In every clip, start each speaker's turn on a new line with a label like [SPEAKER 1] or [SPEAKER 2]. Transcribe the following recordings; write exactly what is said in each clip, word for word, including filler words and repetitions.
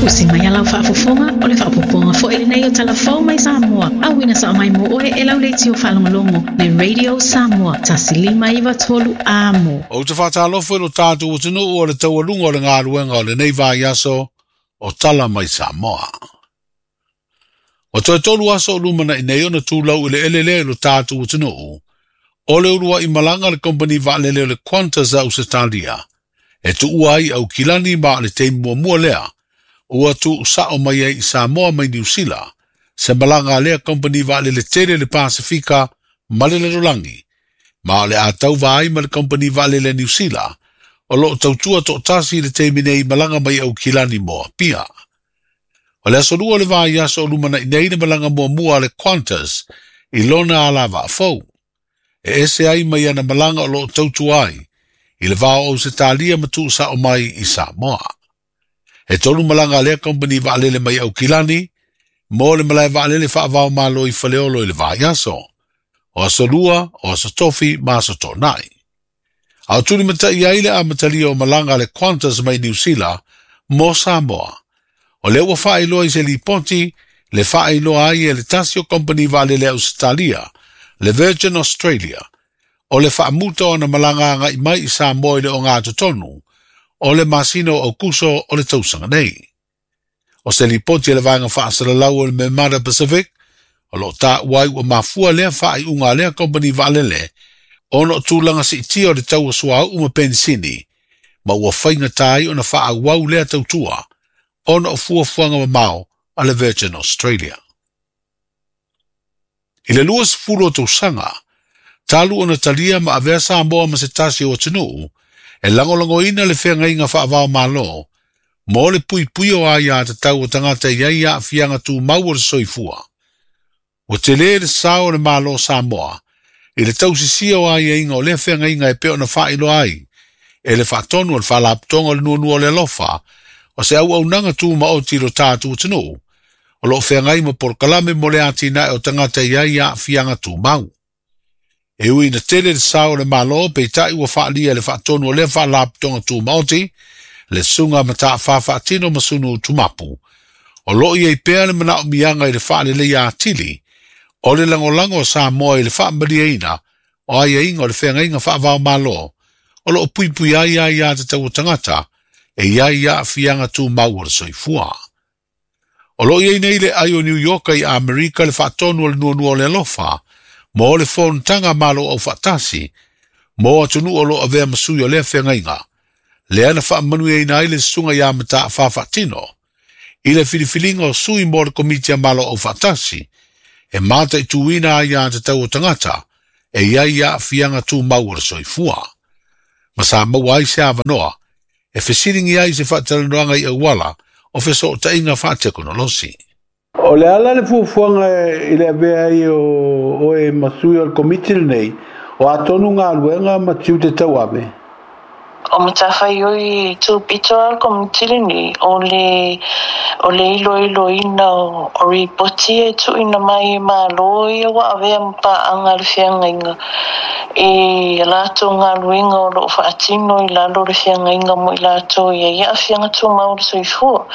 [SPEAKER 1] Usi mai alau faafofoga o le faapopoga foi lenei o talafou mai Samoa. Auina sa mai mo oe e lau leitio faalogologo le Radio Samoa tasi lima iva tolu amo.
[SPEAKER 2] Ou te faatalofa i lo tatou atunuu o le taualuga o le galuega o lenei vaiaso o tala mai Samoa. O toe tolu aso o lumanaʻi nei ona tulau i le elelea i lo tatou atunuu o le uluai malaga le kompani vaalele o le Qantas a Ausetalia e tuua ai Aukilani ma o le taimi muamua lea ua tuusao mai ai i Samoa mai Niu Sila se malaga a lea kompani vaalele tele le Pasifika ma le lalolagi ma o le a tauva ai ma le kompani vaalele a Niu Sila o loo tautua toʻatasi i le taimi nei malaga mai Aukilani mo Apia. O le aso lua o le vaiaso o lumanaʻi nei le malaga muamua a le Qantas i lona alavaa fou. E ese ai mai ana malaga o loo tautua ai i le va o Ausetalia ma tuusao mai i Samoa. E tolu malaga a lea kompani vaalele mai Aukilani mo le malae vaalele faavaomalo i Faleolo i le vaiaso. O aso lua, o aso tofi ma aso toʻanaʻi. A o tulimataʻi ai le amatalia o malaga a le Qantas mai Niu Sila mo Samoa. O lea ua faailoa i se lipoti le faailoa ai e le tasi o kompani vaalele a Ausetalia, le Virgin Australia, o le faamuta o ona malaga agaʻi mai i Samoa i le ogatotonu o le masina o Aukuso o le tausaga nei. O se lipoti e le vaega faasalalau o le Memada Pacific, o loo taua ai ua mafua lea faaiuga a lea kompani vaalele ona o tulaga siitia o le tau o suauu ma penisini, ma ua faigata ai ona faaauau lea tautua ona o fuafuaga mamao a le Virgin Australia. I le lua sefulu o tausaga, talu ona talia ma avea Samoa ma se tasi o atunuu e lagolagoina le feagaiga faavaomalo mo le puipui o aiā tatau o tagata i ai aafiaga tumau o le soifua. Ua tele le sao o le Malo Samoa i le tausisia o aiaiga o lea feagaiga e pei ona faailoa ai e le faatonu o le faalapotoga o le nuanua o le alofa o se auaunaga tumaoti i lo tatou atunuu o loo feagai ma polokalame mo le atinae o tagata i ai aafiaga tumau. E ui ina tele le sao o le Malo peitai ua faalia e le faatonu o lea faalapotoga tumaoti le susuga mataafa faatino ma sunu tumapu. O loo iai pea le manaomiaga i le faaleleia atili o le lagolago o Samoa i le faamaliaina o aiaiga o le feagaiga faavaomalo o loo puipui ai aiā tatau o tagata e iai aafiaga tumau o le soifua. O loo iai nei le ai o New York i Amerika le faatonu o le nuanua o le alofa mo le fonotaga Malo Aufaatasi mo atunuu o loo avea ma sui o lea feagaiga lea na faamanuiaina ai le susuga iā mataafa faatino i le filifiliga o sui mo le komiti a Malo Aufaatasi e mataituina aiā tatau o tagata e iai aafiaga tumau o le soifua. Ma sa maua ai se avanoa e fesiligia ai se faatalanoaga i auala o fesootaiga faatekonolosi.
[SPEAKER 3] O le ala le fuafuaga i le avea ai o oe ma sui o le komiti lenei, o atonu galuega ma tiute tauave.
[SPEAKER 4] O matafaioi tupito a le komiti lenei o le o le iloiloina o, o ripoti e tuuina mai e Malo ia ua avea ma paaga le feagaiga i latou galuega o loo faatino i lalo o le feagaiga mo i latou ia i aafiaga tumau o le soifua.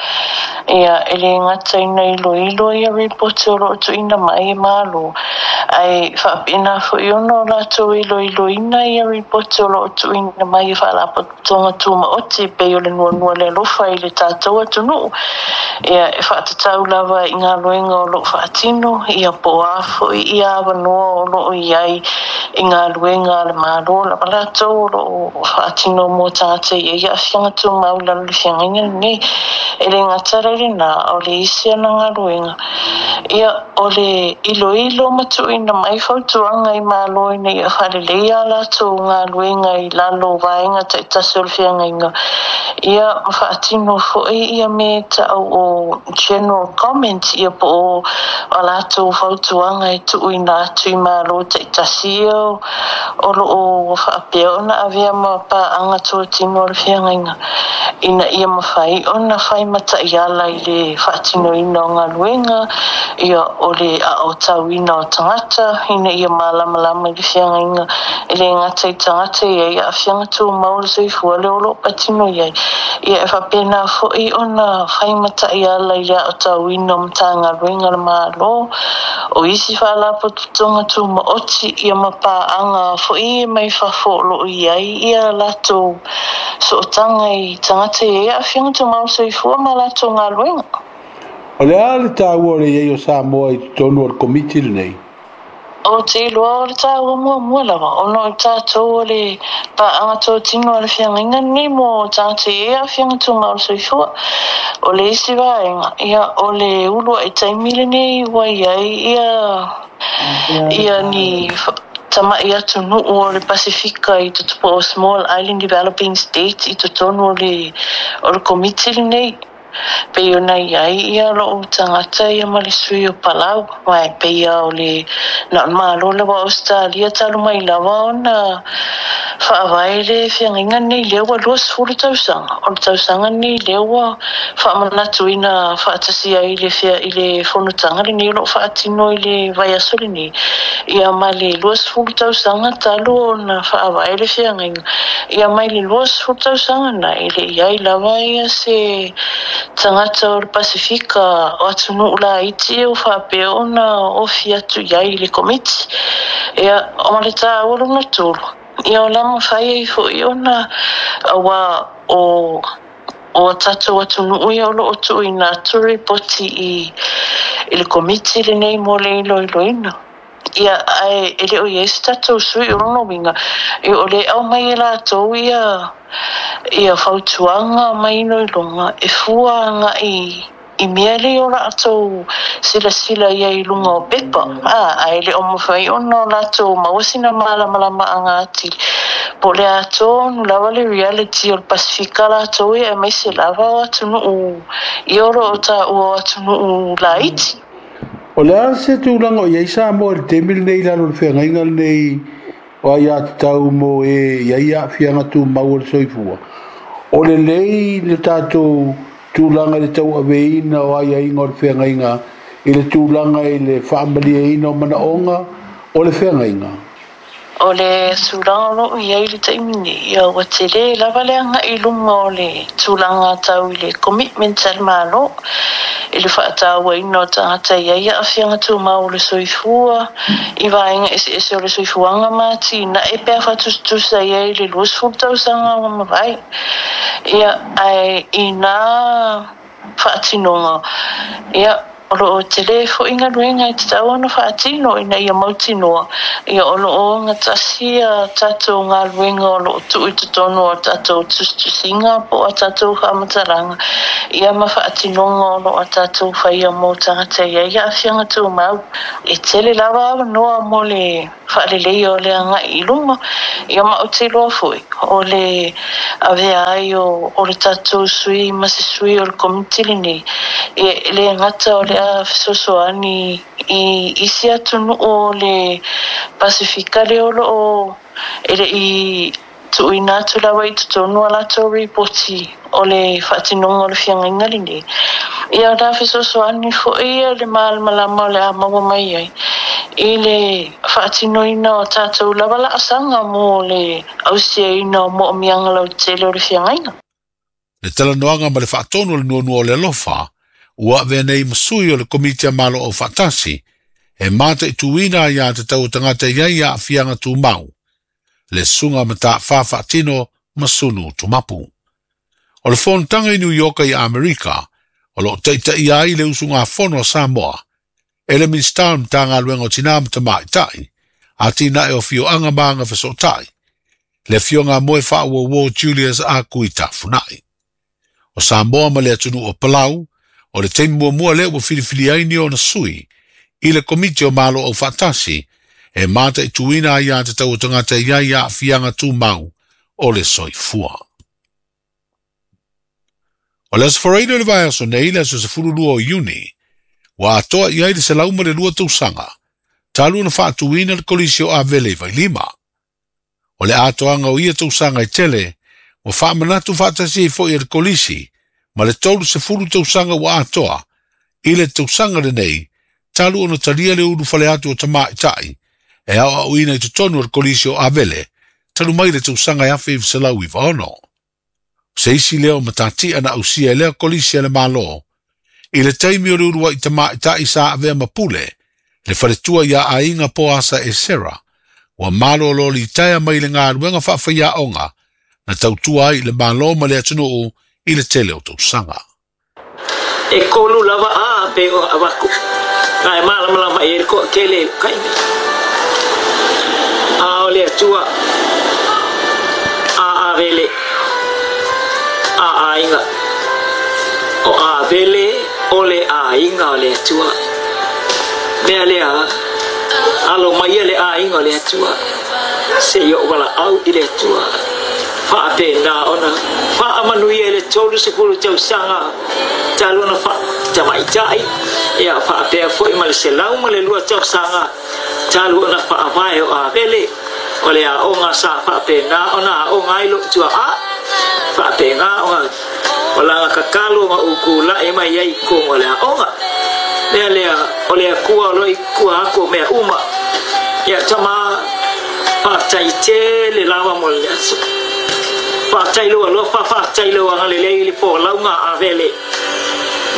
[SPEAKER 4] Ia e le gata ina iloilo ia ripoti o loo tuuina mai e Malo ae faapena foi ona o latou iloiloina ia ripoti o loo tuuina mai e faalapotopotoga tumaoti pei o le nuanua le alofa i le tatou atunuu. Ia e faatatau lava i galuega o loo faatino ia po o a foi ia avanoa o loo iai i galuega a le Malo lava latou o loo faatino mo tagata i ai aafiaga tumau i lalo o le feagaiga lenei. E le gata la i lena o le isi ana galuega ia o le iloilo ma tuuina mai fautuaga i Malo ina ia faaleleia a latou galuega i lalo o vaega taitasi o le feagaiga ia ma faatino foi ia me taʻau o general comment ia po o a latou fautuaga e tuuina atu i Malo taitasi ia o loo faapea ona avea ma paaga totino o le feagaiga ina ia mafai ona fai mataiala i le faatinoina o galuega ia o o le aotauina o tagata ina ia malamalama i le feagaiga e lē gata i tagata ia i aafiaga tumau o le soifua le o loo patino i ai. Ia e faapena foʻi ona faimataʻi ala i le aotauina o matagaluega le Mālō o isi faalapotopotoga tumaoti ia ma paaga foʻi mai fafo o loo i ai ia latou sootaga i tagata ia i aafiaga tumau o le soifua ma latou galuega.
[SPEAKER 3] O le a le taua o le iai o Samoa i totonu o le komiti lenei?
[SPEAKER 4] O te iloa o le taua muamua lava ona o tatou o le paaga totino a le feagaiga lenei mo tagata e i ai aafiaga tumau o le soifua. O le isi vaega ia o le ulu ai taimi lenei ua i ai ia ia ni tamaʻi atunuu o le Pasifika i totonu o Small Island Developing States i totonu o le o le komiti lenei. Pei ona i ai ia lou tagata ia ma le sui o Palau, ma e peia o le na o le Malo lava o Ausetalia talu mai lava ona faavae le feagaiga lenei lea ua luasefulu tausaga. O le tausaga lenei lea ua faamanatuina faatasi ai le fea i le fonotaga lenei o loo faatino i le vaiaso lenei. Ia ma le luasefulu tausaga talu ona faavae le feagaiga. Ia mai le luasefulu tausaga na e le i ai lava ia se tagata o le Pasifika o atunuu laiti o faapea ona ofi atu i ai i le komiti. Ia o le taua lona tolu, ia o la mafai ai foʻi ona auā o o a tatou atunuu ia o loo tuuina atu ripoti i i le komiti lenei mo le iloiloina. Ia ae e le o i ai se tatou sui o lona uiga ia o le aumai e latou ia ia fautuaga ma iloiloga e fua agai i mea lea o latou silasila i ai i luga o pepa a ae le o mafai ona o latou maua sina malamalamaaga atili po o le a tonu lava le reality o le Pasifika latou ia aemaise lava o atunuu ia o loo taua o atunuu laiti.
[SPEAKER 3] O le a se tulaga o i ai Samoa i le taimi lenei i lalo o le feagaiga lenei o aiatatau mo e i ai aafiaga tumau o le soifua? O lelei le tatou tulaga i le tauaveina o aiaiga o le feagaiga i le tulaga i le faamalieina o manaoga o le feagaiga?
[SPEAKER 4] O le tulaga o loo i ai le taimi nei, ia ua tele lava le agai i luga o le tulaga tau i le commitment a le Mālō i le faatauaina o tagata i ai aafiaga tumau o le soifua i vaega eseese o le soifuaga ma atinae pe a faatusatusa i ai i le luasefulu tausaga ua mavae. Ia ae ina faatinoga ia o loo tele foʻi galuega e tatau ona faatino ina ia mautinoa ia o loo ogatasi ia tatou galuega o loo tuu i totonu o tatou tusitusiga po o a tatou faamatalaga ia ma faatinoga o loo a tatou faia mo tagata i ai aafiaga tumau. E tele lava avanoa mo le faaleleia o le agai i luma. Ia ma ou te iloa foʻi o le avea ai o, o le tatou sui ma se sui o le komiti lenei e le gata o le a fesoasoani i isi atunuu o le Pasifika lea o loo e lei tuuina atu lava i totonu a latou ripoti o le faatinoga o le feagaiga lenei. Ia o le a fesoasoani foʻi ia le malamalama o le a maua mai ai i le faatinoina o tatou lava laasaga mo le ausiaina o moomiaga lautele o le feagaiga.
[SPEAKER 2] Le talanoaga ma le faatonu o le nuanua o le alofa ua avea nei ma sui o le komiti a Malo Aufaatasi e mataituina aiatatau o tagata i ai aafiaga tumau le susuga Matafā Faatino Masunu Tumapu. O le fonotaga i New York i Amerika o loo taitaia ai le usugafono a Samoa e le Minisita o le Matagaluega o Tinā ma Tamaitai atinae o Afioaga ma Agafesootai le afioga a Moe Faauouo Julius Akui Tafunai. O Samoa ma le atunuu o Palau o le taimi muamua lea ua filifili ai ni ona sui i le komiti o Malo Aufaatasi e mataituina aiatatau o tagata i ai aafiaga tumau o le soifua. O le aso Faraile o le vaiaso nei le aso sefululua o Iuni, ua atoa i ai le selau ma le lua tausaga, talu ona faatuina le kolisi o Avele i Vailima. O le atoaga o ia tausaga e tele, ua faamanatu faatasi ai foʻi e le kolisi ma le tolu sefulu tausaga ua atoa i le tausaga lenei talu ona talia le ulufale atu o tamaʻitaʻi e aoaoina i totonu o le Kolisi o Avele talu mai le tausaga e afe iva selau iva ono. Se isi lea o matati'a na ausia e lea kolisi a le Mālō i le taimi o le uluaʻi tamaʻitaʻi sa avea ma pule le faletua iā aiga po asa e Sera ua malōlō litaea mai le galuega faafaiaʻoga na tautua ai i le Mālō ma le atunuu i le tele o tausaga.
[SPEAKER 5] E kolu lava a pe o avaku. Nā e malamalama e le koa tele kaimi. A o le atua a avele a aiga. O avele o le aiga o le atua. Mea lea alo mai le aiga o le atua. Se i o wala au i le atua. Whaapena ona whaamanuia le tolu sefulu tausaga talu ona wha tamaitai ia whaapea foi ma le selau ma le lua tausaga talu ona whaavae o avele o le aoga sa whaapena ona aoga ai lou tuaa whaapena ona o laga kakalo ma uku lae mai ai kongo le aoga mea lea o le akua o loi kua ako mea uma ia tama whaatai tele lava mo le aso whaatai loa loa whaatai loa ngale lei le po launga avele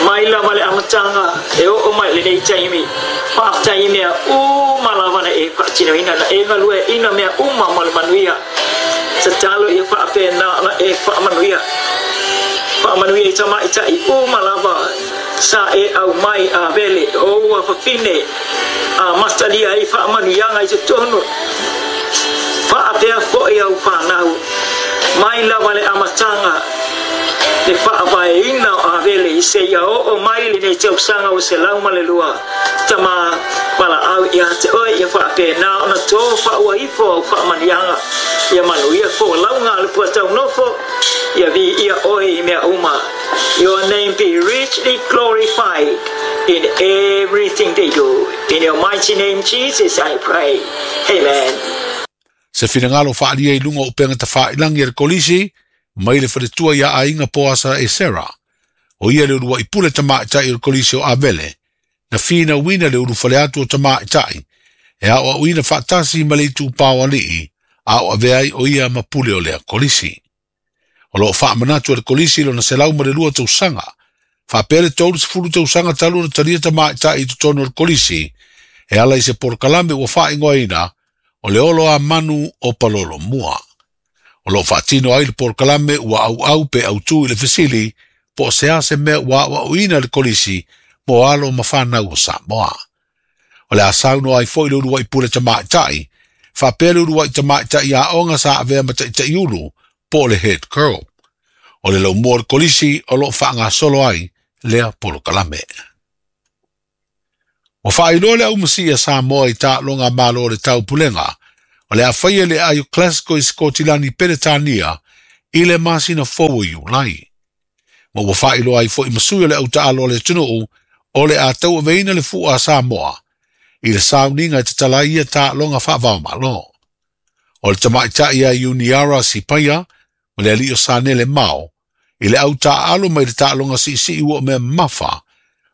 [SPEAKER 5] mai lava le amatanga e oo mai lenei taimi faafetai mea uma lava na e faatinoina na e galue ina mea uma mo le manuia tatalo ia faapena na e faamanuia faamanuia i tamaʻitaʻi uma lava sa e aumai avele o ua fafine a masalia ai faamanuiaga i totonu faapea foʻi au fanau mai lava le amataga le faavaeina o avele i seia oo mai lenei tausaga o selau ma le lua tama valaau ia te oe ia faapena ona tō faaua ifo au faamanuiaga ia manuia folauga a le puataunofo ia viia oe i mea uma. Your name be richly glorified in everything they do. In your mighty name, Jesus, I pray. Amen.
[SPEAKER 2] Se finagalo faalia i luga o upega tafailagi a le kolisi mai le faletua iā aiga po asa e Sera. O ia le uluaʻi pule tamaʻitaʻi o le Kolisi o Avele na finauina le ulufale atu o tamaʻitaʻi e aoaʻoina faatasi ma le itupā o alii a o avea ai o ia ma pule o lea kolisi. O loo faamanatu e le kolisi lona selau ma le lua tausaga faapea le tolu sefulu tausaga talu ona talia tamaʻitaʻi i totonu o le kolisi e ala i se polokalame ua faaigoaina o le olo a manu o palolo mua. O loo faatino ai le polokalame ua auau pe autū i le fesili po o se a se mea ua aoaoina le kolisi mo alo ma fanau o Samoa. O le a saunoa ai foi le uluaʻi pule tamaʻitaʻi faapea le uluaʻi tamaʻitaʻi aoga sa avea ma taʻitaʻi ulu po o le head girl. O le laumua o le kolisi o loo faagasolo ai lea polokalame. Ua faailoa le aumasiʻi a Samoa i taaloga Mālō o le Taupulega o le a faia le aio Glasgow i Sikotilani Peretania i le masina fou o Iulai. Ma ua faailoa ai foʻi masui o le autaalo o le atunuu o le a tauaveina le fuʻa a Samoa i le sauniga e tatala ai ia taaloga faavaomālō. O le tamaʻitaʻi a Iuniara Sipaia ma le alii o Sanele Mao i le autaaalo mai le taaloga siisii ua o mea mamafa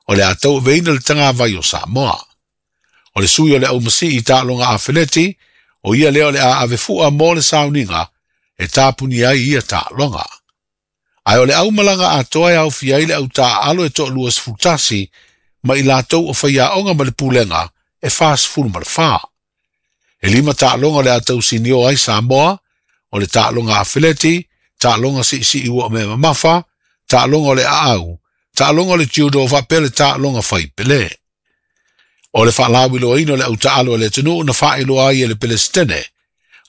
[SPEAKER 2] o le a tauaveina le tagavai o Samoa. O le sui o le aumasii i taaloga afeleti o ia lea o le a avefuʻa mo le sauniga e tapuni ai ia taaloga. Ae o le aumalaga atoa e aofia ai le autaaalo e toalua sefulutasi ma i latou o faiaoga ma le pulega e fasefulu ma le fā. E lima taaloga o le a tausinio ai Samoa o le taaloga afeleti, taaloga siisii ua o mea mamafa, taaloga o le aau, taaloga o le judo faapea le taaloga faipelē. O le faalauiloaina o le autaalo a le atunuu na faailoa ai e le Pelesitene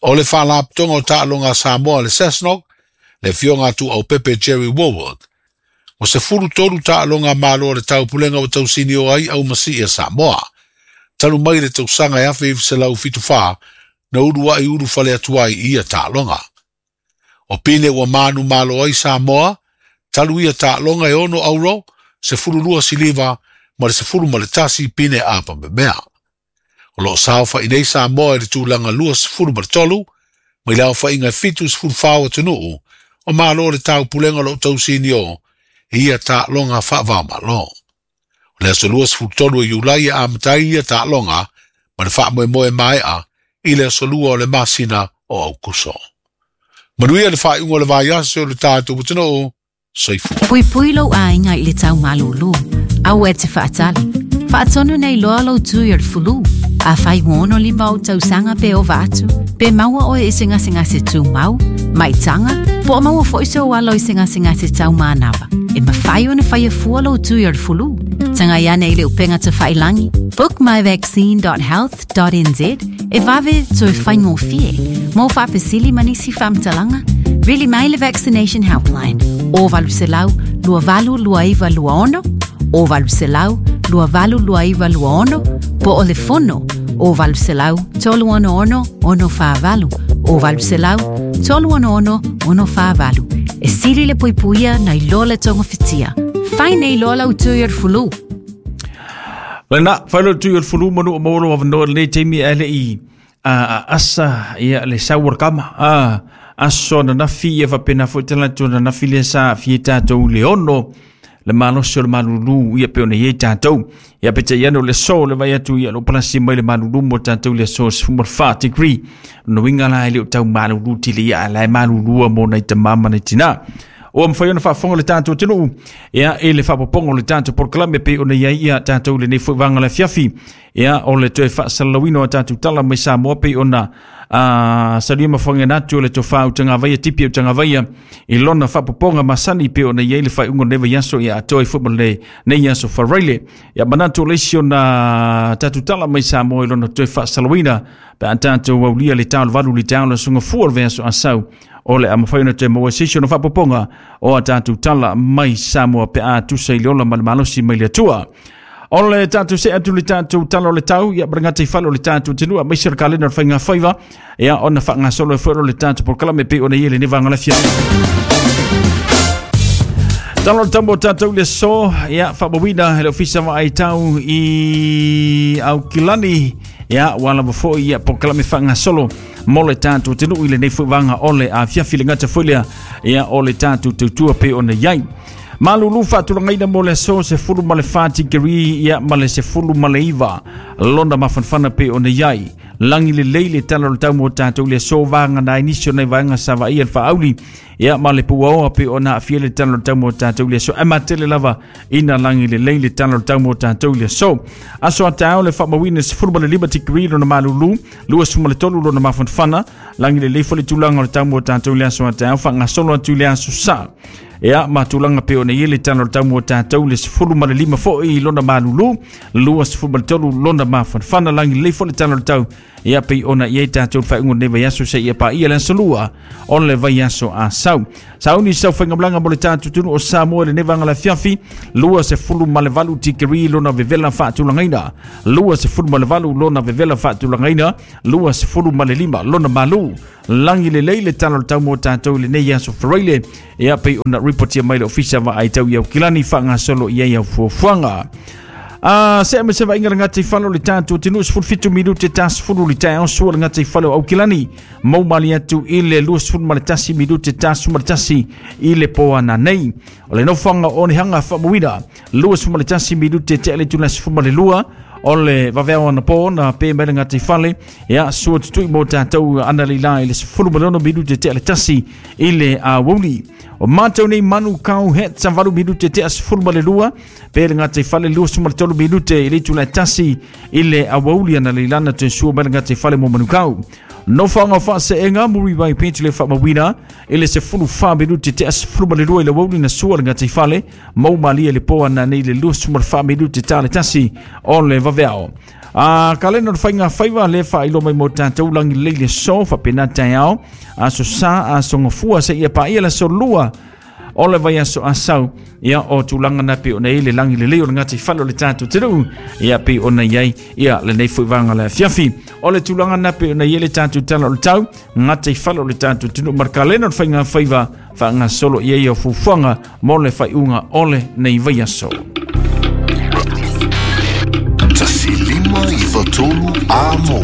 [SPEAKER 2] o le faalapotoga o taaloga a Samoa le SASNOC le afioga atu aupepe Jerry Wallwork. O sefulu tolu taaloga a Mālō o le Taupulega ua tausinio ai aumasii a Samoa talu mai le tausaga e afe iva selau fitu fā na uluaʻi ulufale atu ai i ia taaloga. O pine ua manu malo ai Samoa talu ia taaloga e ono auro, sefulu lua siliva ma le sefulu ma le tasi pine apa memea. O loo saofaʻi nei Samoa i le tulaga lua sefulu ma le tolu mai le aofaiga e fitu sefulu fa o atunuu o Mālō o le Taupulega o loo tausinio i ia taaloga faavaomālō. O O le aso lua sefulu tolu o Iulai e amata ai ia taaloga ma le faamoemoe maea i le aso lua o le masina o Aukuso. Manuia le faaiuga o le vaiaso o le tatou atunuu. Soifua.
[SPEAKER 1] Puipui lou aiga i le taumalūlū, aua e te faatali. Faatonu nei loa lou tui o le fulu. A fai ono lima o tausaga pe ova atu, pe maua oe i se gasegase tumau, maitaga, po o maua foi sou alo i se gasegase taumanava. E mafai ona faia fua lou tui o le fulu. Tagai ane i le upega tafailangi, book my vaccine dot health dot n z e vave toe faigofie. Mo faafesili ma nisi faamatalaga, vili mai le Vaccination Helpline o valu selau lua valu lua iva lua ono, o valu selau lua valu lua iva lua ono, po o le fono o valu selau tolu ono ono ono whaavalu, o valu selau tolu ono ono ono whaavalu. E sili le puipuia na iloa le tonga fitia. Fai nei loa lau tui o le fulu.
[SPEAKER 6] Lena, fai lo tui o le fulu manu o maolo awanoa le taimi a le i a asa ia le sauar kama. A aso na nafi ia wapena fo tala tu na nafi le sa fie tātou le ono le malosi o le malulu ia pe ona iei tātou. Ia pete iano le so le vai atu ia lo palasi mai le malulu mo tātou le so sefuma wha degree. No winga la ele o tau malulu tili ia la e malulua mo nei te mama nei tina. O am whai ona whaafonga le tātou tenu. Ia e le whaapoponga le tātou porokalame pe ona ia ia tātou le nei fuivanga le fiafi. Ia o le toe whaasalawino a tātou tala mai Samoa pe ona a salia mafonga natu le tofa o tangavaia tipi o tangavaia i lona whaapoponga masani pe ona ia i le whaiungo newa iaso ia atoa i fuima le nei iaso wharaile. Ia manatu le isi ona tātou tala mai Samoa i lona toe whaasalawina pe a tātou aulia le tāu valu le tāu le sunga fua le veaso asau. O le amawhai ona te maua sisi ona whaapoponga o a tātou tala mai Samoa pe a tusa i le ola ma le malosi mai le atua. O le tātou se atu le tātou tala o le tau, ia marangata i whalo le tātou tenua, mai sira kalena o le whainga whaiva, ia ona whaangasolo e whaero le tātou porokalame pe ona ia le newa ngalafia. Tala o le tambo tātou le so, ia whaamawina le ofisa wa ai tau i Aukilani, ia wala mafoi ia porokalame whaangasolo mo le tātou tenu i le nei fuivanga o le a fiafi le ngata fuilea, ia o le tātou tautua pe ona iai. Malulu whaatulangaina mo le so se fulu ma le whati kiri ia ma le se fulu ma le iwa. Londa mafanfana pe ona iai. Langi le leile tala o le tau mo tātou le so vanga na inisio nei vaenga sa vaia le whaauli. Ia ma le puaoa pe ona awhia le tala o le tau mo tātou le so. E matele lava ina langi le leile tala o le tau mo tātou le so. Aso a tāo le whaamawina se fulu ma le lima tikiri lona malulu. Lua suma le tolu lona mafanfana. Langi le leifo le tūlanga o le tau mo tātou le aso a tāo. Whangasolo atu le aso sa. Ia matulanga pe ona iele tana o le tau mo tātou le sefulu ma le lima foi lona malulu, lua sefulu ma le tolu lona mafanfana langi le fo le tana o le tau. Ia pe ona iei tātou whaingo nei vaiaso se ia pa ia le asolua o le vaiaso a sau. Sauni sau whaingamlanga mo le tātou tunu o Samoa le nevanga la fiafi, lua sefulu ma le valu tikiri lona vevela whaatulangaina, lua sefulu ma le valu lona vevela whaatulangaina, lua sefulu ma le lima lona malu. Langi le leile tana o le tau mo tātou le nei aso wharaile. Ia pe ona ripotia mai le ofisa wa ai tau iau kilani whangasolo ia iau fuafuanga. Ah, se me se va inga ngati falo le tātou tenu sefulu fitu minute ta sefulu le taeao sua le ngati falo au kilani. Mau mali atu i le lua sefulu ma le tasi minute ta sefulu ma le tasi i le poana nei. O le nofanga o ni hanga whaamawina lua sefulu ma le tasi minute te ale tuna sefulu ma le lua. O le vaveo ana po na pe mai le ngati fale. Ia sua tutui mo tātou ana le la i le sefulu ma le ono minute te ale tasi i le awouli. O mātou nei manu kau het sa valu minute te sefulu ma le lua. Pe le ngati fale lua sefulu ma le tolu minute i le tula tasi i le awouli ana le lana te sua mai le ngati fale mo manu kau. No whanga whaaseenga muri vai penti le whaamawina i le sefulu wha minute te sefulu ma le lua i le awouli na sua le ngati fale. Mau malia le poa na nei le lua sefulu ma le wha minute ta le tasi o le vaveao. A kalena o le whainga whaiva le wha ilo mai mo tātou langi leile so whapena taeao. Aso sa aso ngafua se ia pa ia le so lua o le vaiaso asau. Ia o tūlanga na pe ona i le langi le leo le ngati falo le tātou te ruu. Ia pe ona iai ia le nei fuivanga le fiafi. O le tūlanga na pe ona i le tātou tala o le tau. Ngati falo le tātou te ruu. Markalena o le whainga whaiva whaanga solo ia ia fufuanga mo le whaiunga o le nei vaiaso.
[SPEAKER 7] Tasi lima i fatolu a mo.